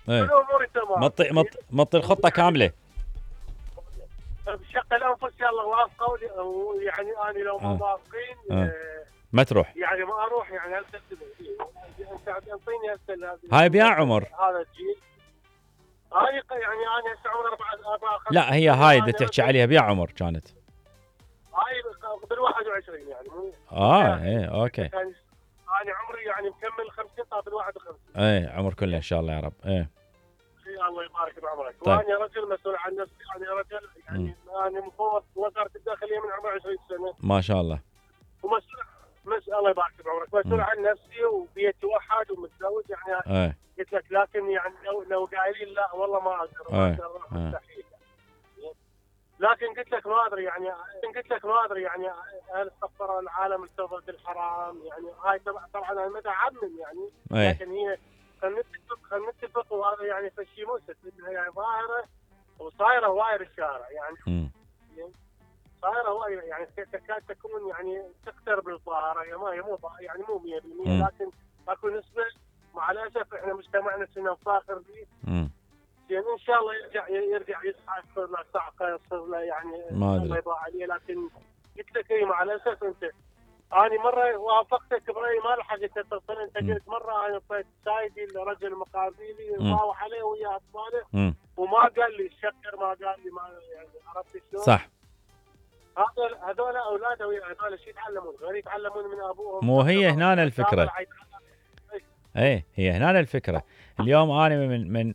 ايه والامور تمام. مطي الخطه كامله. بشق الانفس يلا وافقوا يعني انا لو ما موافقين ما تروح يعني ما اروح يعني انت تعطيني هسه هاي بيا عمر هذا الجيل. هاي يعني انا هسه عمري 4 لا هي هاي اللي تحكي عليها بيا عمر كانت هاي بال21 يعني مو ايه اوكي. يعني انا عمري يعني مكمل 50 طاب بال51. ايه عمر كله ان شاء الله يا رب. ايه الله يبارك بعمرك. طيب. وانا رجل مسؤول عن نفسي، انا رجل يعني انا مفوض وزاره الداخليه من عمري 20 سنه ما شاء الله. ومسؤول الله يبارك بعمرك، مسؤول عن نفسي وبيتي وحد ومتزوج يعني. قلت لك لكن يعني لو قايلين لا والله ما اقدر مستحيل. لكن قلت لك ما ادري يعني هل استغفر العالم ارتضى بالحرام يعني هاي طبعا انا متعمم يعني. لكن هي خلينا نتفق وهذا يعني فشي موسى يعني ظاهره وصايره واير الشارع يعني. صايره واير يعني تكاد تكون يعني تقترب الظاهره هي مو 100% لكن اكو نسبه مع الاسف احنا مجتمعنا كنا نفاخر به. يعني ان شاء الله يرجع يصحى يصير له صعقه يصير له يعني الله يبارك عليه. لكن قلت لك اي مع الاسف انت انا مره وافقتك برايي ما لحقت اتصل. انت قلت مره انا طيت سايدي لرجل مقابلي وضاوح عليه ويا اطفاله وما قال لي الشكر ما قال لي ما يعني عرفت شلون؟ صح. هذول اولاده هذول شو يتعلمون؟ غير يتعلمون من ابوهم. مو هي هنا الفكره. ايه هي هنا الفكره. اليوم انا من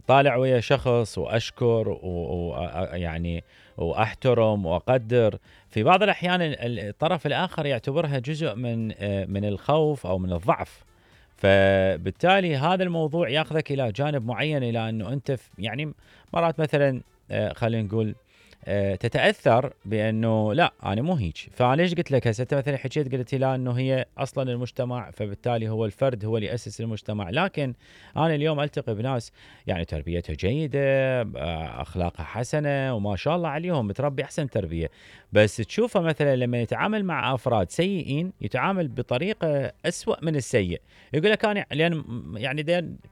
طالع ويا شخص واشكر ويعني واحترم واقدر، في بعض الاحيان الطرف الاخر يعتبرها جزء من الخوف او من الضعف، فبالتالي هذا الموضوع ياخذك الى جانب معين، الى انه انت يعني مرات مثلا خلينا نقول تتاثر بانه لا انا مو هيك. فانا ليش قلت لك هسه انت مثلا حكيت قلت لي انه هي اصلا المجتمع، فبالتالي هو الفرد هو اللي ياسس المجتمع. لكن انا اليوم التقي بناس يعني تربيتها جيده، اخلاقها حسنه وما شاء الله عليهم متربي احسن تربيه، بس تشوفه مثلا لما يتعامل مع افراد سيئين يتعامل بطريقه اسوأ من السيء. يقول لك انا لان يعني